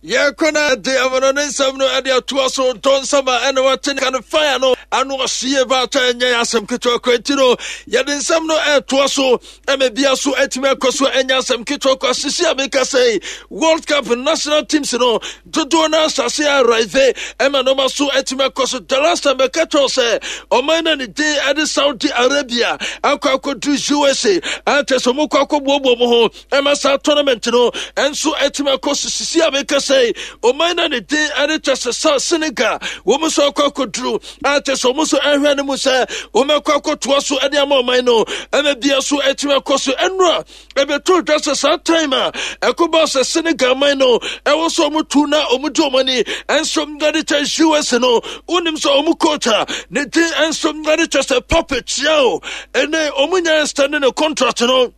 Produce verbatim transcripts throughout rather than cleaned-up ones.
Yɛkɔ na de amono ne nsɛm no ɛde atoa so. Ntɔ nsɛm a ɛna wate ne ka no fire no ano ɔhyeɛ baata, ɛnyɛ yɛ asɛm ketewa kɔ. Nti no yɛde nsɛm no ɛtoa so ɛma bia so atumi akɔ so. Ɛnyɛ asɛm ketewa kɔ asisi a meka sɛ World Cup national teams no dodoɔ no asase arrive ɛma nɔma so atumi akɔ so. The last time bɛka kyerɛw sɛ ɔman no ne din ɛde Saudi Arabia akɔ akɔduru U S A, akyɛ sɛ ɔmokɔ akɔboaboa mu ho ɛma saa tournament no ɛnso atumi akɔ so. Sisi a meka sɛ ɔman no ne din ɛde kyɛ sɛ sa Senegal, wɔn nso akɔ akɔduru, akyɛ sɛ wɔn nso ɛhwɛ no mu sɛ wɔn akɔ akɔtoa so ɛde ama ɔman no ɛma bia so atumi akɔ so. Ɛnura ɛbɛto dwa sɛ saa time a ɛkɔba sɛ Senegal man no ɛwɔ sɛ ɔmo tu na ɔmo di ɔmo ani ɛnso ɛde kyɛ U S no, wonim sɛ ɔmo coach a ne din ɛnso ɛde kyɛ sɛ Pape Thiaw, ɛnɛ ɔmo nya extend ne contract no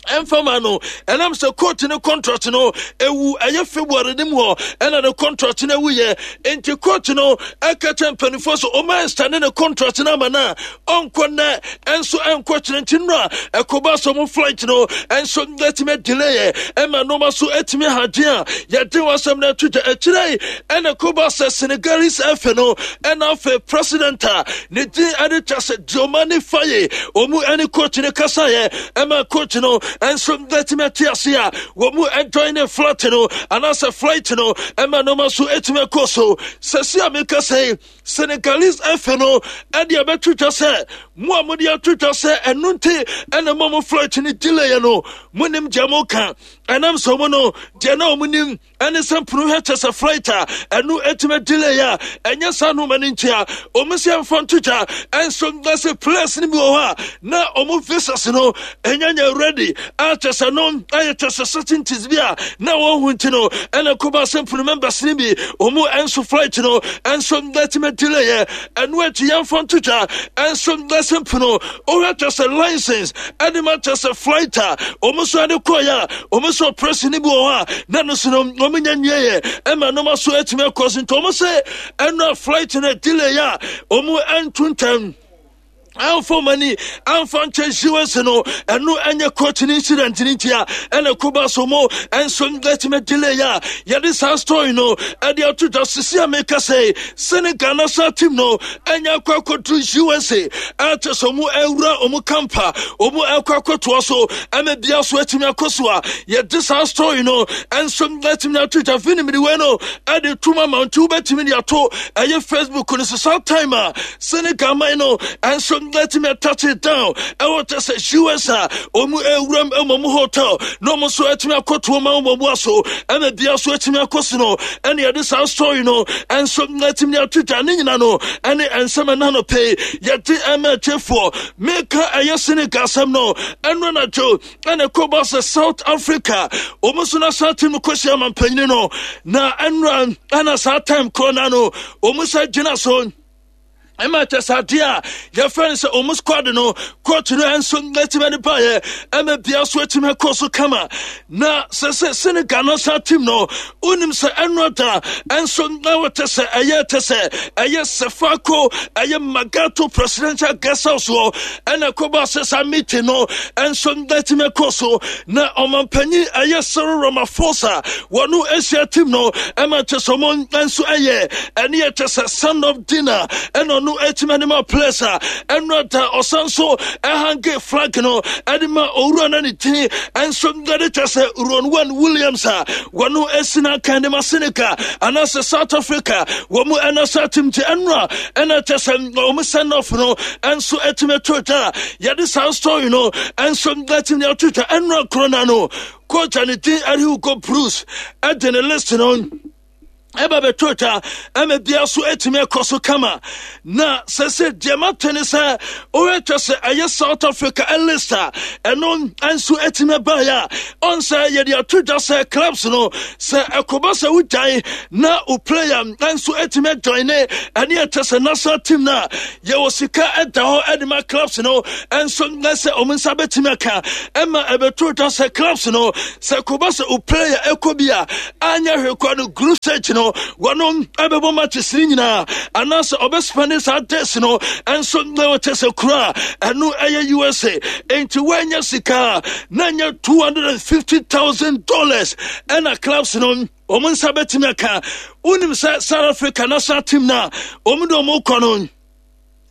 ɛmfama no, ɛnam sɛ coach ne contract no ewu ɛyɛ February ne mu hɔ ɛna ne contract no ewu yɛ. Nti coach no ɛka kyɛ mpanimfoɔ so ɔmo extend ne contract no ama no a ɔnkɔ nnɛ ɛnso ɛnkɔ kyerɛ. Nti no a ɛkɔba sɛ ɔmo flight no ɛnso ɛtumi delay yɛ ɛma nneɛma so ɛtumi hagye a yɛde wɔn asɛm no ato dwa akyerɛ. Ɛna ɛkɔba sɛ Senegalese F A no ɛna afei president a ne din ɛde kyɛ sɛ Diomaye Faye, ɔmo ɛne coach no kasaeɛ ɛma coach no ɛnso ɛtumi ate ase a wɔn mu ɛjoin ne flight no anaasɛ flight no ɛma nneɛma so ɛtumi akɔ so. Sɛsi a meka sɛ Senegalese F A no ɛde ɛbɛto dwa sɛ mo a mode ato dwa sɛ ɛno nti ɛna mo mo flight no delay no, monim deɛ mo ka. Ɛnam sɛ ɔmo no deɛ na ɔmo nim ɛne sɛ mpono hwɛ kyɛ sɛ flight a ɛno ɛtumi delay a ɛnyɛ saa noma no nti a ɔmo sɛ mfa nto dwa. Ɛnso na sɛ players no bi wɔ hɔ a na ɔmo visas no ɛnya nya ready a kyɛ sɛ no ɛyɛ kyɛ sɛ certainties bi a na wɔn ho nti no ɛna kɔba sɛ mpono members no bi ɔmo ɛnso flight no ɛnso ɛtumi delay yɛ. Ɛno akyi yɛmfa nto dwa ɛnso na sɛ mpono ɔhwɛ kyɛ sɛ license ɛde ma kyɛ sɛ flight a ɔmo nso ɛde kɔɔyɛ a ɔmo nso operation no bi wɔ hɔ a na no so no ɔmo nya nwie yɛ ɛma nneɛma so atumi akɔ so. Nti ɔmo sɛ ɛno a flight no delay a ɔmo ɛnto ntɛm amfa ɔmani amfa nkyɛn U S no, ɛno ɛnyɛ coach no incident no nti a ɛna koba so mo ɛnso ɛtumi delay a yɛde saa story no ɛde ato dwa. Sisi a meka sɛ Senegal national team no ɛnya akɔ akɔduru U S A, ɛkyɛ sɛ ɔmo ɛwura ɔmo camp a ɔmo ɛkɔ akɔtoa so ɛma bia so atumi akɔ so a yɛde saa story no ɛnso ɛtumi ato dwa. Finimiri wei no ɛde tum ama nti wobɛtumi de ato ɛyɛ Facebook no so. Saa time a Senegal man no ɛnso ɛtumi atouch it down ɛwɔ kyɛ sɛ U S a ɔmu ewuram ɛwɔ mu hotel na ɔmo nso ɛtumi akɔtoɔ ma ɔmo mu aso ɛna bia so ɛtumi akɔ so no, ɛne yɛde saa story no ɛnso ɛtumi ato dwa. Ne nyina no ɛne ɛnsɛm ɛna no pɛi yɛde ɛma atiefoɔ. Meka ɛyɛ Senegal asɛm no, ɛno anadwo ɛna ɛkɔba sɛ South Africa ɔmo nso national team kɔhyia ama mpanyini no na ɛnora ɛna saa time korɔ na no ɔmo nsa gyina so ɛma kyɛ sɛ adeɛ a yɛfrɛ no sɛ ɔmo squad no, coach no nso atumi de baeɛ ɛma bia so atumi akɔ so kama. Na sɛ sɛ Senegal national team no, wonim sɛ ɛno da ɛnso na wɔkyɛ sɛ ɛyɛ kyɛ sɛ ɛyɛ Sefako ɛyɛ Magato Presidential Guest House hɔ ɛna ɛkɔba sɛ saa meeting no ɛnso atumi akɔ so na ɔmampanyin ɛyɛ Cyril Ramaphosa wɔno ahyia team no ɛma kyɛ sɛ ɔmo nso ɛyɛ ɛne yɛ kyɛ sɛ send off dinner ɛna ɔno atumi anim a players a ɛno da ɔsan so ɛhang flag no ɛde ma owura no ne din ɛnso ɛde kyɛ sɛ Ronwen Williams a wɔno asi no akan de ma Senegal anaasɛ South Africa wɔn mu ɛna sa team. Nti ɛno a ɛna kyɛ sɛ wɔn send off no ɛnso atumi ato dwa a yɛde saa story no ɛnso atumi ato dwa. Ɛno akoro na no coach a ne din ɛde Hugo Broos ɛde ne list no ɛba bɛtɔ twa ɛma bia so atumi akɔ so kama. Na sɛ sɛ deɛ mate ne sɛ wohwɛ sɛ ɛyɛ South Africa list a ɛno nso atumi baeɛ a ɔn sɛ yɛde ato dwa sɛ clubs no sɛ ɛkɔba sɛ wogyae na wo player nso atumi ajoin ne ɛne ɛkyɛ sɛ national team no a yɛwɔ sika ɛda hɔ ɛde ma clubs no nso na sɛ ɔmo nsa bɛtumi aka. Ɛma ɛbɛto dwa sɛ clubs no sɛ kɔba sɛ wo player ɛkɔ bi a anyɛ hwee kɔ no group stage no no wɔno ɛbɛbɔ matches ne nyinaa anaasɛ ɔbɛspend saa days no ɛnso na wɔkyɛ sɛ kuro a ɛno ɛyɛ U S A. Enti wɔanya sika na nyɛ two hundred and fifty thousand dollars ɛna clubs no wɔn nsa bɛtumi aka. Wonim sɛ South Africa national team na wɔn de wɔn kɔ no,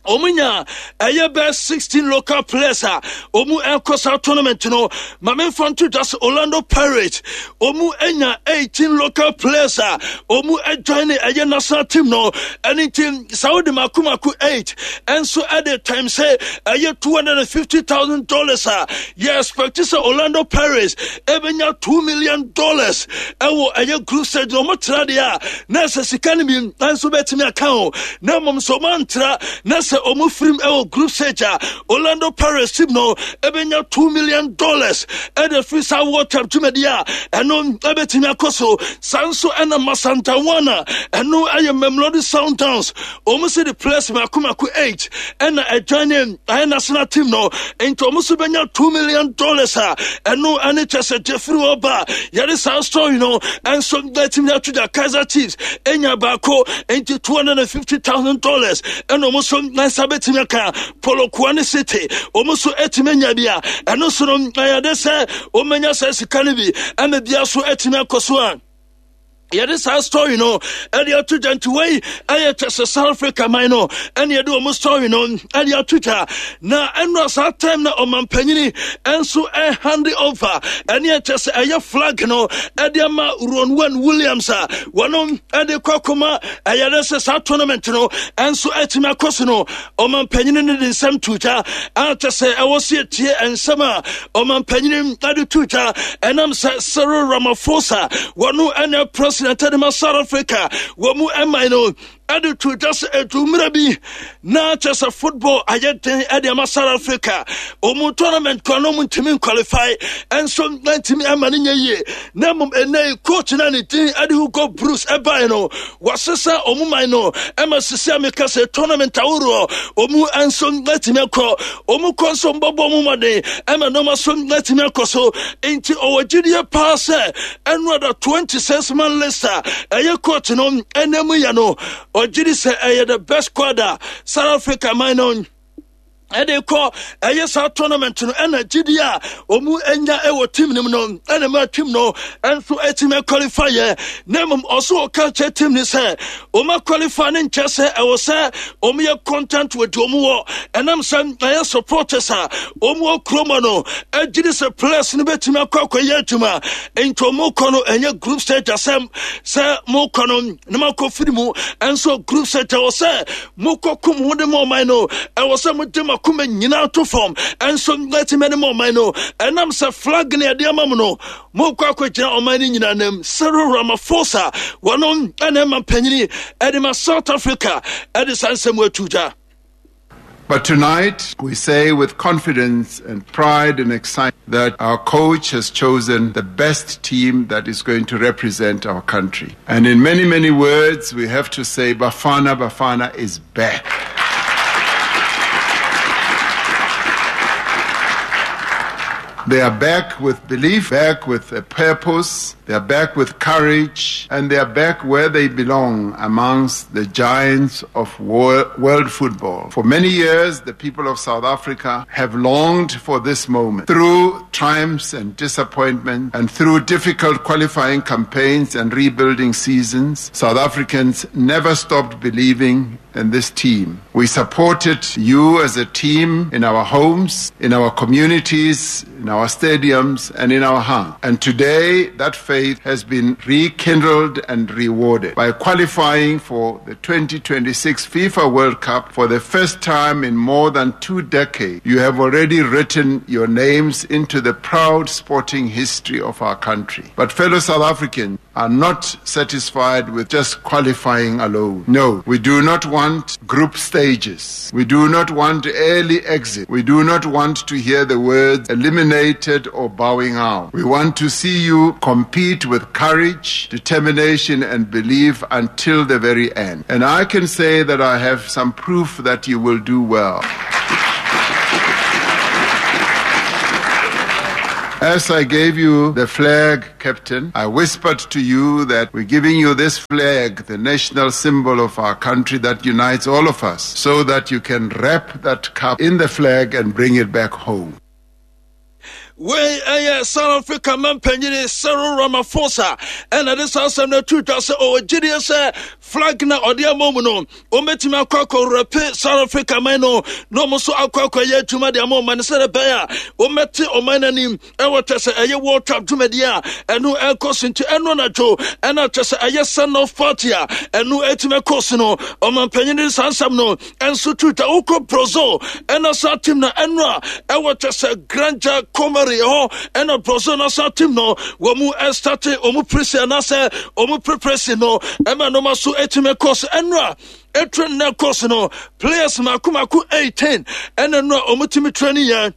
wɔn nya ɛyɛ bɛɛ sixteen local players a wɔn ɛkɔ saa tournament no. Maame nfa nto dwa sɛ Orlando Pirates wɔn anya eighteen local players a wɔn ɛjoin ɛyɛ national team no. Ɛne nti saudi mako mako eight ɛnso ɛde times sɛ ɛyɛ two hundred and fifty thousand dollars a yɛ expect sɛ Orlando Pirates ɛbɛnya two million dollars ɛwɔ ɛyɛ group stage na wɔn tra deɛ a, na ɛsɛ sika no bi nso bɛtumi aka ho. Na mmom sɛ wɔn antra na sɛ ɔmo firim ɛwɔ group stage a, Orlando Pirates team no ɛbɛnya two million dollars ɛde firi saa World Cup dwumadi a ɛno ɛbɛtumi akɔ so. Saa nso ɛna Masandawana, ɛno ɛyɛ Mamelodi Sundowns, ɔmo sɛ de players mako mako eight ɛna ɛjoin ne ɛyɛ national team no, nti ɔmo nso bɛnya two million dollars a ɛno ɛne kyɛ sɛ jeffrey hɔ ba. Yɛde saa story no ɛnso bɛtumi ato dwa. Kaizer Chiefs ɛnya baako, nti two hundred and fifty thousand dollars ɛna ɔmo nso nsa bɛtumi aka. Polokwane City, ɔmo nso ɛtumi anya bi a ɛno nso no ɛyɛ de sɛ ɔmanya saa sika no bi ɛma bia so ɛtumi akɔ so a yɛde saa story no ɛde ato dwa. Nti wei ɛyɛ kyɛ sɛ South Africa man no ɛne yɛde wɔn story no ɛde ato dwa. Na ɛno saa time na ɔmampanyini ɛnso ɛhand over ɛne ɛkyɛ sɛ ɛyɛ flag no ɛde ama Ronwen Williams a wɔn ɛde kɔ akɔma ɛyɛ dɛ sɛ saa tournament no ɛnso ɛtumi akɔ so no, ɔmampanyini no de nsɛm to dwa a kyɛ sɛ ɛwɔ so yɛtie nsɛm a ɔmampanyini ɛde to dwa. Ɛnam sɛ Cyril Ramaphosa, wɔno ɛne president ɛde ma South Africa, wɔ mu ɛman no, ɛde to dwa sɛ ɛdu mmerɛ bi na kyɛ sɛ football ayɛ den ɛde ama South Africa. Ɔmu tournament kɔ no ɔmu ntumi nqualify, ɛnso ntumi ama no nyɛ yie. Na mmom ɛnɛ coach no a ne din ɛde Hugo Broos ɛbae no, wɔasesa ɔmu man no ɛma sisi a meka sɛ tournament ahoroɔ ɔmu nso atumi akɔ. Ɔmu kɔ nso mbɔbɔ ɔmu mmɔden ɛma nneɛma so atumi akɔ so. Nti ɔwɔ gyidie paa sɛ ɛno ada twenty-six man list a ɛyɛ coach no ɛnam yɛ no, ɔgye di sɛ ɛyɛ the best squad a South Africa man no ɛde kɔ ɛyɛ saa tournament no. Ɛna gyidi a ɔmu anya ɛwɔ team no mu no ɛna ma team no ɛnso ɛtumi qualify yɛ. Na mmom ɔso ɔka kyerɛ team no sɛ ɔma qualify ne nkyɛ sɛ ɛwɔ sɛ ɔmo yɛ content wɔ deɛ ɔmo wɔ, ɛnam sɛ ɛyɛ supporters a ɔmo wɔ kurom no ɛgyidi sɛ players no bɛtumi akɔ akɔyɛ adwuma. Nti ɔmo kɔ no, ɛnyɛ group stage asɛm sɛ mo kɔ no na makɔ firi mu. Ɛnso group stage, ɛwɔ sɛ mokɔ kum ho de ma ɔman no, ɛwɔ sɛ mode makoma nyinaa to fam ɛnso mɛtumi ne ma ɔman no, ɛnam sɛ flag ne ɛde ama mu no, mokɔ akɔgyina ɔman no nyinaa nam. Cyril Ramaphosa, wɔno ɛna ɛma mpanyini ɛde ma South Africa, ɛde saa nsɛm atu gya. But tonight, we say with confidence and pride and excitement that our coach has chosen the best team that is going to represent our country. And in many, many words, we have to say Bafana Bafana is back. They are back with belief, back with a purpose, they are back with courage, and they are back where they belong, amongst the giants of world football. For many years, the people of South Africa have longed for this moment. Through triumphs and disappointment, and through difficult qualifying campaigns and rebuilding seasons, South Africans never stopped believing in this team. We supported you as a team in our homes, in our communities, in our stadiums, and in our hearts. And today, that faith has been rekindled and rewarded by qualifying for the twenty twenty-six FIFA World Cup for the first time in more than two decades. You have already written your names into the proud sporting history of our country. But fellow South Africans are not satisfied with just qualifying alone. No, we do not want group stages. We do not want early exit. We do not want to hear the words eliminated or bowing out. We want to see you compete with courage, determination, and belief until the very end. And I can say that I have some proof that you will do well. As I gave you the flag, Captain, I whispered to you that we're giving you this flag, the national symbol of our country that unites all of us, so that you can wrap that cup in the flag and bring it back home. Wei ɛyɛ South Africa mampanyini Cyril Ramaphosa ɛna de saa asɛm no ato dwa sɛ ɔwɔ gyidie sɛ flag na ɔde ama mu no, wɔbɛtumi akɔ akɔwurɛpe South Africa man no na ɔmo nso akɔ akɔyɛ adwuma de ama ɔman no sɛdeɛ ɛbɛyɛ a wɔmmɛte ɔman no anim ɛwɔ kyɛ sɛ ɛyɛ World Cup dwumadi a ɛno ɛkɔ so. Nti ɛno anadwo ɛna kyɛ sɛ ɛyɛ send off party a ɛno ɛtumi ɛkɔ so no, ɔmampanyini de saa nsɛm no ɛnso to dwa. Wokɔ Brazil ɛna saa team na ɛno a ɛwɔ kyɛ sɛ Granja Comary hɔ ɛna Brazil na saa team no wɔn mu ɛstart wɔn presi anaasɛ wɔn preparation no ɛma nneɛma so ɛtumi ɛkɔ so. Ɛno a ɛtrain na ɛkɔ so no, players mako mako eighteen ɛna no a wɔn tumi training yɛn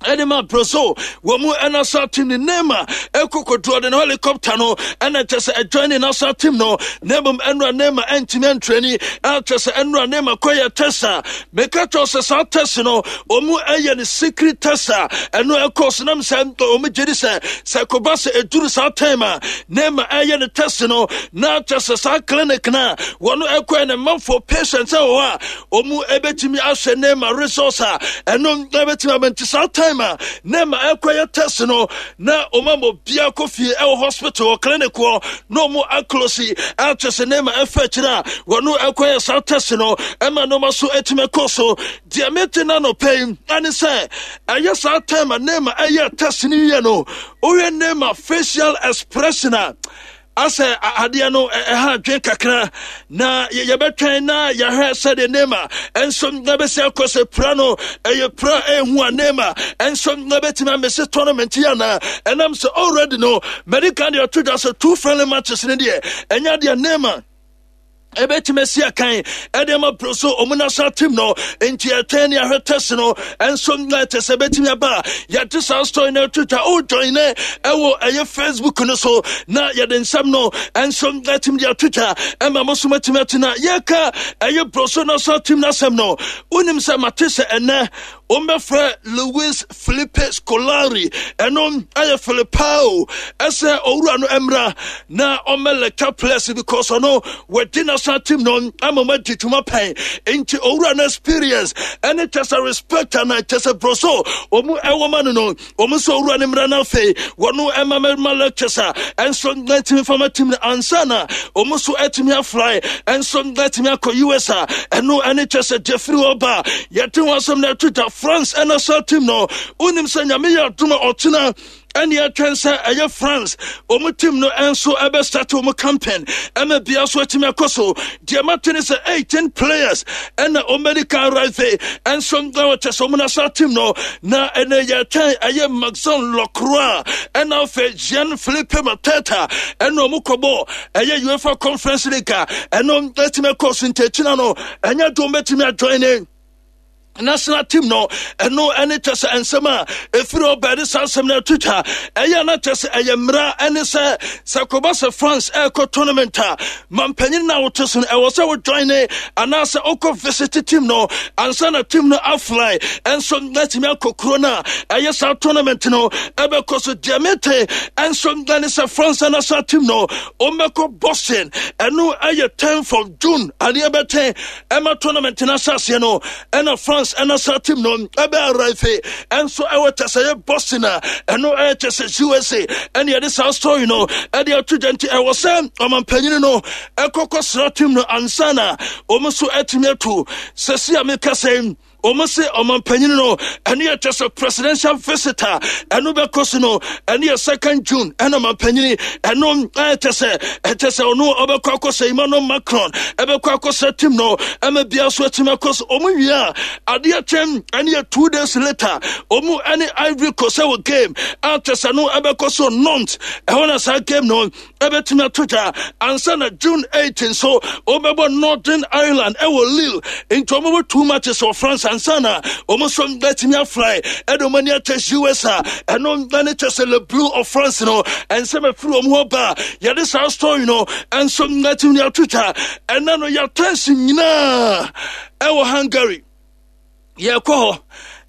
ɛde ma Brazil wɔ mu. Ɛna national team ne Neymar ɛkɔ kɔduro de no helicopter no ɛna kyɛ sɛ ɛjoin ne national team no, na mmom ɛnura Neymar ɛntumi ɛntraining. Ɛkyɛ sɛ ɛnura Neymar kɔyɛ test a meka kyerɛ sɛ saa test no ɔmu ɛyɛ ne secret test a ɛno ɛkɔ so nam sɛ ɔmu gye di sɛ sɛ kɔba sɛ ɛduru saa time a Neymar ɛyɛ ne test no na kyɛ sɛ saa clinic na wɔn ɛkɔɛ ne manfo patient ɛwɔ hɔ a ɔmu ɛbɛtumi ahwɛ Neymar results a ɛno ɛbɛtumi abɛnti. Saa time a Neymar ɛkɔyɛ test no na ɔma ma obiara kɔ fie ɛwɔ hospital wɔ clinic hɔ na ɔmo aclose akyɛ sɛ Neymar ɛfɛ akyire a wɔno ɛkɔyɛ saa test no ɛma nneɛma so ɛtumi kɔ so. Deɛ mete na nɔpɛ yi ɛne sɛ ɛyɛ saa time a Neymar ɛyɛ test no wie no, wohwɛ Neymar facial expression a, asɛ adeɛ no ɛha adwen kakra na yɛbɛtwɛn na yɛhwɛ sɛdeɛ Neymar ɛnso na bɛsi akɔ sɛ pira no ɛyɛ pira ɛhu a Neymar ɛnso na bɛtumi amese tournament yi anaa. Ɛnam sɛ already no medical deɛ ɔto dwa sɛ two friendly matches no deɛ, ɛnyɛ deɛ Neymar ɛbɛtumi asi akan ɛde ama Brazil ɔmo national team no. Nti ɛtwɛn ne ahwɛ test no ɛnso na ɛkyɛ sɛ ɛbɛtumi aba a yɛde saa story no ato twa. Ɔjoin ne ɛwɔ ɛyɛ Facebook no so na yɛde nsɛm no ɛnso ɛtumi de ato twa ɛma mo so matumi ate. Na yɛka ɛyɛ Brazil national team no asɛm no, wonim sɛ mate sɛ ɛnɛ wɔmbɛfrɛ Luis Felipe Scolari, ɛno ɛyɛ Felipao, ɛsɛ owura no mmra na ɔmmɛ lecture players because ɔno wɔdi national team no ama ma di dwuma pɛn. Nti owura no experience ɛne kyɛ sɛ respect ana kyɛ sɛ Brazil ɔmu ɛwɔ ma no no wɔn nso owura no mmra no afei wɔno ɛma mɛma lectures a ɛnso nɛtumi fama team no ansa na wɔn nso ɛtumi afly ɛnso nɛtumi akɔ U S a ɛno ɛne kyɛ sɛ jeffrey ɔba yɛte ho asɛm na ɛto dwa. France ɛna team no, wonim sɛ Nyame yɛ adom a ɔkyena ɛne ɛtwɛn sɛ ɛyɛ France wɔn team no nso ɛbɛstart wɔn campaign ɛma bia so atumi akɔ so. Deɛ mate ne sɛ eighteen players ɛna wɔn medical arrive ɛnso ɛwɔ kyɛ sɛ wɔn national team no na ɛnɛ yɛtwɛn ɛyɛ Maxence Lacroix ɛna afei Jean Philippe Mateta ɛna wɔn kɔbɔ ɛyɛ UEFA Conference League a ɛno ɛtumi akɔ so. Nti akyina no ɛnyɛ dɔm bɛtumi ajoin ne national team no. Ɛno ɛne kyɛ sɛ nsɛm a ɛfiri ɔbaa de saa nsɛm no ato twa. Ɛyɛ na kyɛ sɛ ɛyɛ mmara ɛne sɛ sɛ kɔba sɛ France ɛrekɔ tournament a, mampanyin no a wote so no ɛwɔ sɛ wojoin ne anaasɛ wokɔ visit team no ansa na team no afly ɛnso natumi akɔ kuro no a ɛyɛ saa tournament no ɛbɛkɔ so. Deɛ mete ɛnso ɛne sɛ France national team no ɔmmɛkɔ Boston. Ɛno ɛyɛ tenth of June adeɛ bɛtɛn ɛma tournament no ahyɛaseɛ no ɛna France ɛna saa team no ɛbɛ arrive ɛnso ɛwɔ kyɛ sɛ ɛyɛ Boston a ɛno ɛyɛ kyɛ sɛ U S A. Ɛne yɛde saa story no ɛde ato gya. Nti ɛwɔ sɛ ɔmampanyini no ɛkɔkɔ sra team no ansa na wɔn nso atumi atu. Sɛsi a meka sɛ wɔn se ɔmampanyini no ɛne yɛ kyɛ sɛ presidential visitor ɛno bɛkɔ so no, ɛne yɛ second June ɛna ɔmampanyini ɛno ɛyɛ kyɛ sɛ ɛkyɛ sɛ ɔno ɔbɛkɔ akɔsɛ Emmanuel Macron ɛbɛkɔ akɔsɛ team no ɛma bia so atumi akɔ so. Ɔmo wie a, adeɛ kyɛn ɛne yɛ two days later ɔmo ɛne Ivory Coast ɛwɔ game a kyɛ sɛ no ɛbɛkɔ so Nantes. Ɛhɔ na saa game no ɛbɛtumi ato dwa ansa na June eight nso wɔbɛbɔ Northern Ireland ɛwɔ Lille. Nti wɔbɛbɔ two matches wɔ France ansa na wɔn nso bɛtumi afly ɛde wɔn ani akyɛ U S a ɛno ɛne kyɛ sɛ Le Bleu of France no ɛnsɛm afiri wɔn hɔ ba. Yɛde saa story no ɛnso bɛtumi ato dwa. Ɛna no yɛatɛnsi nyinaa ɛwɔ Hungary, yɛkɔ hɔ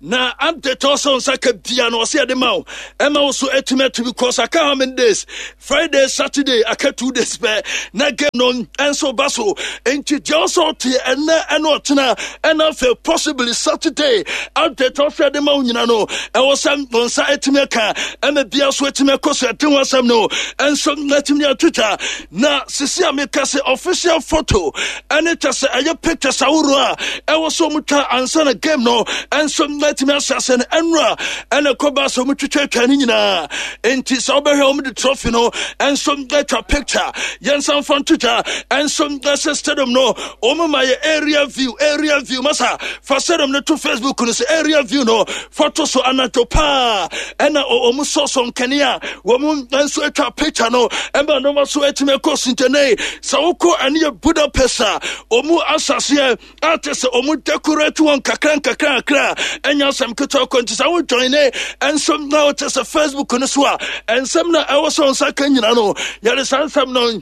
Na update ɔsɛ nsa ka bia no, ɔsɛ yɛde ma wo, ɛma wo so atumi atu, because aka how many days? Friday, Saturday, aka two days pɛ na game no ɛnso ba so. Nti deɛ ɔsɛ ɔte ɛnɛ ɛne ɔkyena ɛna afei possibly Saturday, update ɔsɛ yɛde ma wo nyina no, ɛwɔ sɛ wo nsa atumi aka, ɛma bia so atumi akɔ so. Ɛde ho asɛm no ɛnso atumi atwitwa. Na sisi a meka sɛ official photo ɛne kyɛ sɛ ɛyɛ pictures ahoroɔ a ɛwɔ sɛ ɔmo twa ansa na game no ɛnso atumi ahyɛ ase no, ɛnora ɛna ɛkɔba sɛ ɔmo twitwatwa no nyinaa. Nti sɛ wobɛhwɛ, ɔmo de trophy no ɛnso atwa picture. Yɛnsa mfa ntotwa ɛnso ɛsɛ stadium no, ɔmo ma yɛ area view. Area view masa, fa stadium no to Facebook no sɛ area view no, fa to so. Anadwo paa ɛna ɔmo sɔsɔ nkanea, wɔn nso atwa picture no, ɛma nneɛma so atumi akɔ so. Ntɛnɛ sɛ wokɔ ɛne yɛ Budapest a, ɔmo asaseɛ ate sɛ ɔmo decorate wɔn kakra nkakra kakra. Ɛnyɛ asɛm ketewa kɔ. Nti sɛ wo join ne ɛnso na wote sɛ Facebook no so a, ɛnsɛm na ɛwɔ sɛ nsa ka nyina no, yɛde saa nsɛm no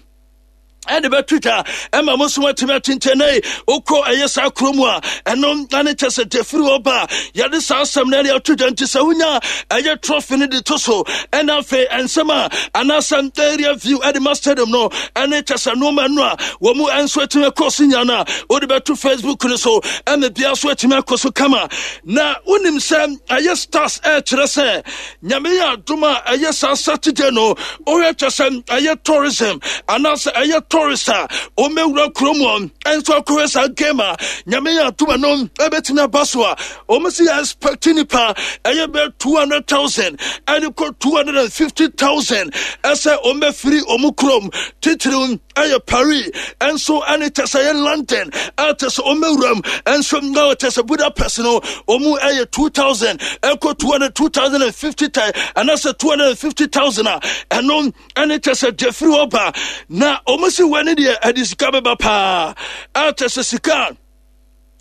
ɛde bɛto twa, ɛma mo nso atumi atentɛnɛ. Wokɔ ɛyɛ saa kurom a, ɛno ane kyɛ sɛ defiri hɔ ba a, yɛde saa asɛm no ɛde ato dwa. Nti sɛ wonya ɛyɛ trophy no de to so, ɛna afei ɛnsɛm a anaasɛ area view ɛde ma stadium no, ɛne kyɛ sɛ nneɛma no a wɔn mu nso atumi akɔ so nya no a, wode bɛto Facebook no so, ɛma bia so atumi akɔ so kama. Na wonim sɛ ɛyɛ stars ɛkyerɛ sɛ Nyame yɛ adom a, ɛyɛ saa Saturday no, wohwɛ kyɛ sɛ ɛyɛ tourism anaasɛ ɛyɛ tourist a ɔmmɛwura kurom hɔ ɛnso akɔhwɛ saa game a, Nyame yɛ adom a, no ɛbɛtumi aba so a, ɔmo si yɛ expect nipa ɛyɛ bɛ two hundred thousand ɛde kɔ two hundred and fifty thousand ɛsɛ ɔmmɛfiri ɔmo kurom, titiriw ɛyɛ Paris ɛnso ɛne kyɛ sɛ ɛyɛ London, ɛkyɛ sɛ ɔmmɛwuram ɛnso na kyɛ sɛ Budapest no, ɔmu ɛyɛ two thousand ɛkɔ two hundred, two thousand and fifty anaasɛ two hundred and fifty thousand a, ɛno ɛne kyɛ sɛ deɛ firi hɔ ba. Na ɔmo si wɔ ne deɛ ɛde sika bɛba paa, ɛkyɛ sɛ sika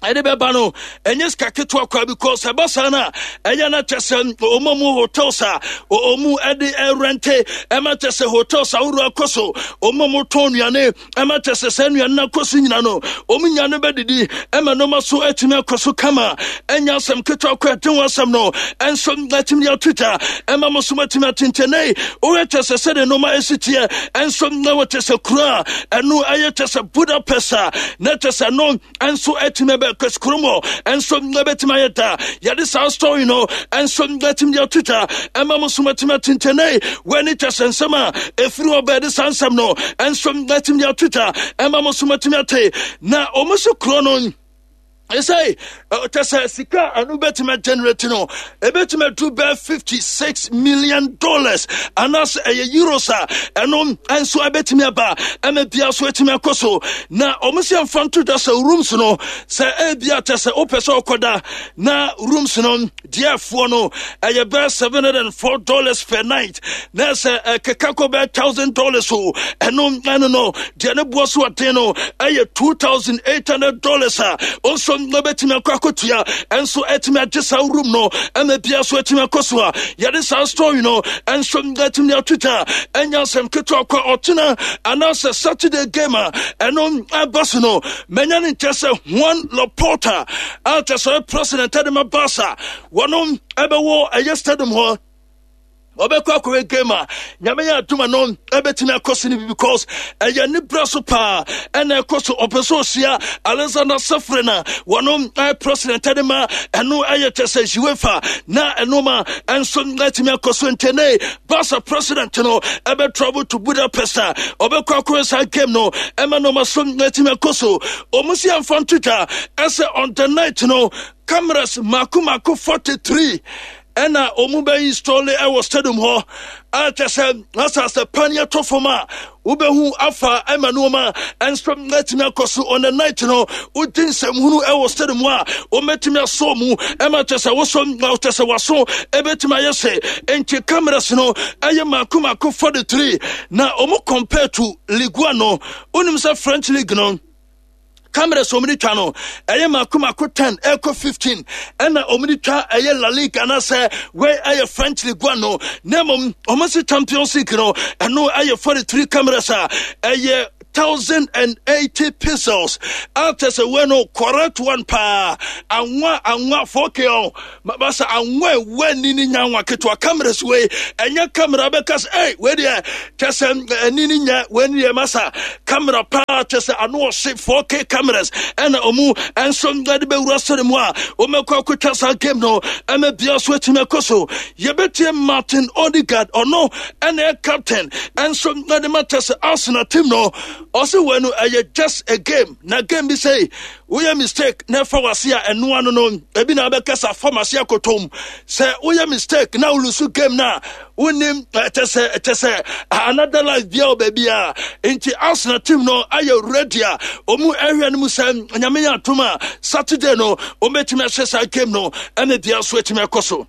ɛde bɛba no ɛnyɛ sika ketewa kwa, because ɛba saa no a, ɛyɛ no kyɛ sɛ ɔma mu hotels a ɔmu ɛde ɛrɛnte, ɛma kyɛ sɛ hotels ahoroɔ akɔ so, ɔma mu tɔn nnuane, ɛma kyɛ sɛ saa nnuane no akɔ so nyina no, ɔmu nya no bɛdidi, ɛma nneɛma so atumi akɔ so kama. Ɛnyɛ asɛm ketewa kɔ. Ɛde ho asɛm no ɛnso atumi de ato gya, ɛma mo so atumi atentɛnɛ. Woyɛ kyɛ sɛ sɛdeɛ nneɛma ɛsi teɛ ɛnso na wɔkyɛ sɛ kuro a ɛno ɛyɛ kyɛ sɛ Budapest a, na kyɛ sɛ no ɛnso atumi bɛ kurom hɔ ɛnso ɛbɛtumi ayɛ da. Yɛde saa story no ɛnso atumi de ato dwa, ɛma mo so atumi atentɛnɛ. Wɔne kyɛ sɛ nsɛm a ɛfiri hɔ bɛɛde saa nsɛm no ɛnso atumi de ato dwa, ɛma mo so atumi ate. Na ɔmo so kuro no ɛsɛ kyɛ sɛ sika a ɛno bɛtumi generate no, ɛbɛtumi adu bɛɛ fifty-six million dollars anaasɛ ɛyɛ euros a, ɛno nso ɛbɛtumi aba, ɛma bia so ɛtumi akɔ so. Na ɔmo sɛ mfa nto dwa sɛ rooms no, sɛ ebia kyɛ sɛ wopɛ sɛ ɔkɔda na rooms no deɛfoɔ no ɛyɛ bɛɛ seven hundred and four dollars per night, na sɛ ɛkeka kɔ bɛɛ thousand dollars o, ɛno ɛno no deɛ ne boɔ so ɔden no ɛyɛ two thousand eight hundred dollars a, nso bɛtumi akɔ akɔtua ɛnso ɛtumi agye saa room no, ɛma bia so ɛtumi akɔ so a, yɛde saa story no ɛnso ɛtumi atwitwa. Ɛnya asɛm ketewa kɔ. Ɔkyena anaasɛ Saturday game a ɛno ɛba so no, manya ne nkyɛ sɛ Juan Laporta a kyɛ sɛ president ɛde ma Barca, wɔno ɛbɛwɔ ɛyɛ stadium hɔ, ɔbɛkɔ akɔhwɛ game a Nyame yɛ adoma no ɛbɛtumi akɔ so no bi, because ɛyɛ ne berɛ so paa ɛna ɛkɔ so. Ɔpɛ sɛ ɔhyia Alexander Ceferin a wɔno ɛyɛ president ɛde ma ɛno ɛyɛ kyɛ sɛ UEFA, na ɛno ma ɛnso ɛtumi akɔ so. Ntɛnɛ Barca president no ɛbɛ travel to Budapest a ɔbɛkɔ akɔhwɛ saa game no, ɛma no ma so ɛtumi akɔ so. Ɔmo si amfa ntotwa ɛsɛ on the night no, cameras mako mako forty-three ɛna ɔmu bɛ install ɛwɔ stadium hɔ, a kyɛ sɛ asase paneɛ tɔ fam a, wobɛhu afa, ɛma nneɛma ɛnso atumi akɔ so. On the night no, wodi nsɛmhunu ɛwɔ stadium a, wɔmɛtumi asɔ mu, ɛma kyɛ sɛ wosɔ kyɛ sɛ waso ɛbɛtumi ayɛ sɛ. Nti cameras no ɛyɛ mako mako forty-three. Na ɔmo compare to Ligue one no, wonim sɛ French league no, cameras wɔn de twa no ɛyɛ mako mako ten ɛkɔ fifteen, ɛna wɔn de twa ɛyɛ La Liga anaasɛ wei ɛyɛ French League One no. Na mmom wɔn si Champions League no, ɛno ɛyɛ forty three cameras a ɛyɛ thousand and eighty pixels a kyɛ sɛ wei no correct one paa anwa anwa four K ɔ masa anwa ɛwɔ ani ne nya anwa ketewa. Cameras wei ɛnyɛ camera bɛka sɛ ɛy wei deɛ kyɛ sɛ ani ne nya wei ne deɛ masa camera paa kyɛ sɛ ano ɔhye four K cameras ɛna ɔmu ɛnso ɛde bɛwura sɛre mu a wɔmɛkɔ akɔtwa saa game no ɛmɛ bia so atumi akɔ so. Yɛbɛtie Martin Odegaard, ɔno ɛna ɛyɛ captain ɛnso ɛde ma kyɛ sɛ Arsenal team no. Ɔse wei no ɛyɛ just a game, na game bi sɛ woyɛ mistake na ɛfa wase a, ɛnoa no no ebi na abɛkasa fam ase akotom sɛ woyɛ mistake na wolose game na wonim ɛkyɛ sɛ ɛkyɛ sɛ another life bia wɔ baabi a. Nti Arsenal team no ayɛ ready a ɔmu ɛhwɛ no mu sɛ Nyame yɛ atom a, Saturday no ɔmɛtumi ahyɛ saa game no ɛne bia so atumi akɔ so.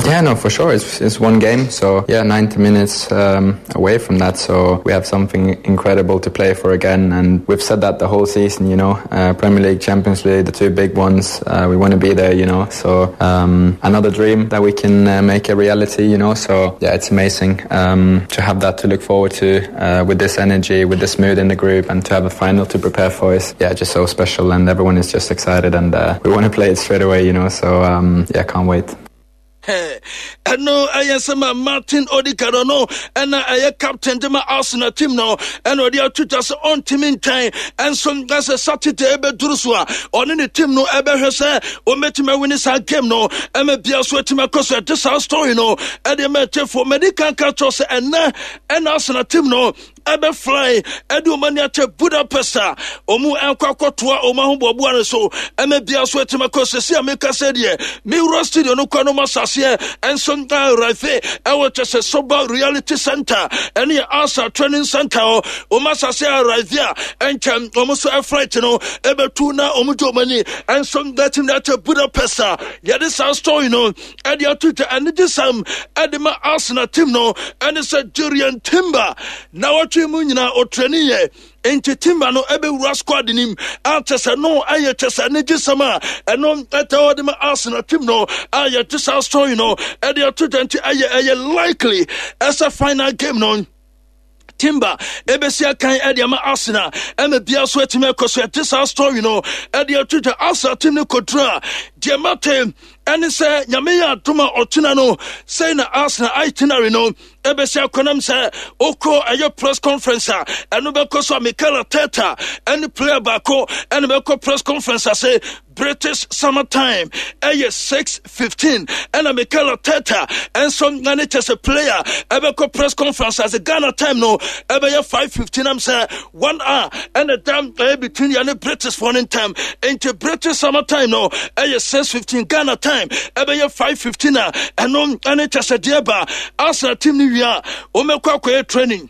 Yeah, no, for sure. It's, it's one game, so yeah, ninety minutes um, away from that. So we have something incredible to play for again, and we've said that the whole season. You know, uh, Premier League, Champions League, the two big ones. Uh, we want to be there. You know, so um, another dream that we can uh, make a reality. You know, so yeah, it's amazing um, to have that to look forward to uh, with this energy, with this mood in the group, and to have a final to prepare for is, yeah, just so special. And everyone is just excited, and uh, we want to play it straight away. You know, so um, yeah, can't wait. Ɛno ɛyɛ nsɛm a Martin Odegaard no ɛna ɛyɛ captain de ma Arsenal team no ɛna ɔde ato dwa sɛ ɔntumi ntwɛn ɛnso ɛsɛ Saturday ɛbɛduru so a, ɔne ne team no ɛbɛhwɛ sɛ ɔmɛtumi awin saa game no ɛma bia so atumi akɔ so. Ɛde saa story no ɛde ma ɛkyɛfoɔ mɛdi kan ka kyerɛ sɛ ɛnɛ ɛna Arsenal team no ɛbɛfly ɛde ɔmo ani akyɛ Budapest a ɔmo ɛnkɔ akɔtoa ɔmo ahoboaboa no so ɛmɛ bia so atumi akɔ. Sɛsi a meka sɛ deɛ mewura studio no kɔ no ma saseɛ ɛnso arrive ɛwɔ kyɛ sɛ Soba Reality Center, ɛne yɛ Arsenal training center hɔ. Ɔmo asase arrive a, ɛnkyɛn ɔmo nso ɛflight no ɛbɛtu na ɔmo gye ɔmo ani ɛnso ɛtumi de akyɛ Budapest a yɛde saa story no ɛde ato dwa. Ɛne gye sam ɛde ma Arsenal team no ɛne sɛ Jurrien Timber na wɔtwe mu nyinaa ɔtraining yɛ, nti Timber no ɛbɛwura squad nim a kyɛ sɛ no ɛyɛ kyɛ sɛ ne gye sɛm a ɛno ɛtɛ hɔ de ma Arsenal team no a yɛte saa story no ɛde ato dwa. Nti ɛyɛ ɛyɛ likely ɛsɛ final game no Timber ebesi akan ɛde ama Arsenal ɛma bia so atumi akɔ so. Ɛte saa story no ɛde ato dwa. Arsenal team no kɔduru a, deɛ mate ɛne sɛ Nyame yɛ adom a, ɔkyena no sɛi na Arsenal itinerary no ɛbɛsi akɔnam sɛ wokɔ ɛyɛ press conference a ɛno bɛkɔ so a, Mikel Arteta ɛne player baako ɛne bɛkɔ press conference ase. British Summer Time ɛyɛ six fifteen ɛna Mikel Arteta ɛnso ɛne kyɛ sɛ player ɛbɛkɔ press conference ase. Ghana time no ɛbɛyɛ five fifteen, am sɛ one hour ɛna dam ɛyɛ between yɛne British foɔ no ntam. Nti British Summer Time no ɛyɛ six fifteen, Ghana time ɛbɛyɛ five fifteen a ɛno ɛne kyɛ sɛ deɛ ba Arsenal team no wie a, wɔmɛkɔ akɔyɛ training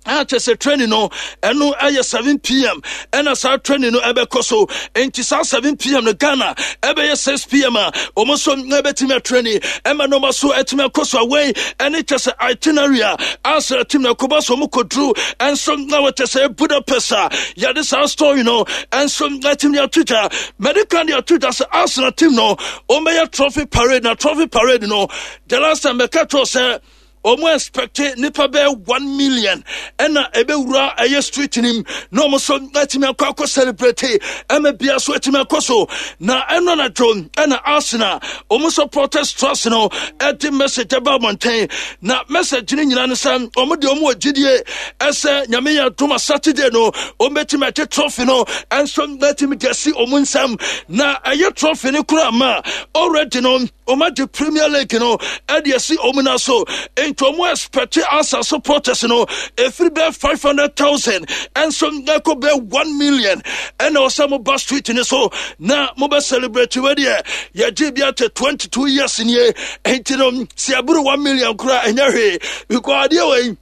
a kyɛ sɛ training no ɛno ɛyɛ seven p m ɛna saa training no ɛbɛkɔ so. Nti saa seven p m no, Ghana ɛbɛyɛ six p m a wɔn nso ɛbɛtumi atraining ɛma nneɛma so ɛtumi akɔ so. Away ɛne kyɛ sɛ itinerary a Arsenal team na ɛkɔba so wɔn kɔduru ɛnso na wɔkyɛ sɛ Budapest a yɛde saa story no ɛnso ɛtumi ato dwa. Medical de ato dwa sɛ Arsenal team no wɔn bɛyɛ trophy parade, na trophy parade no, the last time bɛka kyerɛ sɛ wɔn expect nipa bɛyɛ one million ɛna ɛbɛwura ɛyɛ street nim na wɔn nso atumi akɔ akɔ celebrate ɛma bia so atumi akɔ so. Na ɛno anadwo ɛna Arsenal wɔn supporters trust no ɛde message ɛba abɔnten, na message no nyinaa no sɛ wɔn de wɔn wɔ gyidie ɛsɛ Nyame yɛ adom a, Saturday no wɔn bɛtumi agye trophy no ɛnso bɛtumi de asi wɔn nsam. Na ɛyɛ trophy no kora ma already no wɔn agye Premier League no ɛde asi wɔn na so. Nti wɔn expect Arsenal supporters no efiri bɛɛ five hundred thousand ɛnso ɛkɔ bɛɛ one million ɛna ɔsɛ mo ba street ne so na mo bɛ celebrate. Wɛ deɛ yɛgye bi akyɛ twenty two years nie, nti no si aburu one million kora ɛnyɛ hwee because adeɛ wɔ yi